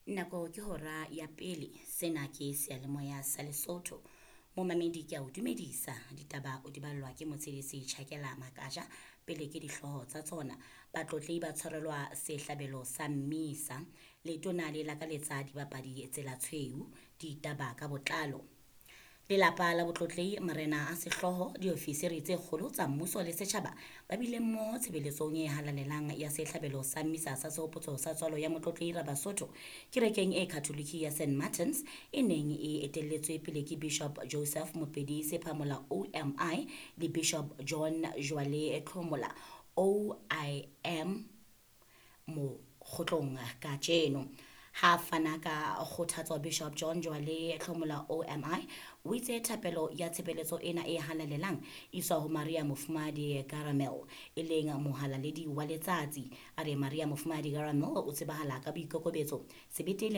Nako ke hora ya pele. Sena ke seyalemoya sa Lesotho. Momamedi ke a o dumedisa. Ditaba o di ballwa ke motshedisi Tjhakela Makaja. Pele ke dihlooho tsa tsona. Batlotlehi ba tshwarelwa sehlabelo sa mmisa. Letona le lakaletsa dibapadi tsela tshweu. Ditaba ka botlalo. Lelapa la Botlotlehi, marena a sehlooho, diofisiri tse kgolo tsa mmuso le setjhaba ba bile mmoho tshebeletsong e halalelang ya sehlabelo sa mmisa sa sehopotso sa tswalo ya Motlotlehi Rabasotho kerekeng e Katholike ya St Martins e neng e etelletswe pele ke Bishop Joseph Mopedi Sephamola OMI le Bishop John Joale Tlhomola OIM Mokgotlong kajeno. Ha fana ka kgothatso Bishop John Joale Tlhomola OMI o itse thapelo ya tshebeletso ena e halalelang iswa ho Maria Mofumahadi Caramel e leng mohalaledi wa letsatsi. A re Maria Mofumahadi Caramel o tsebahala ka boikokobetso, sebete le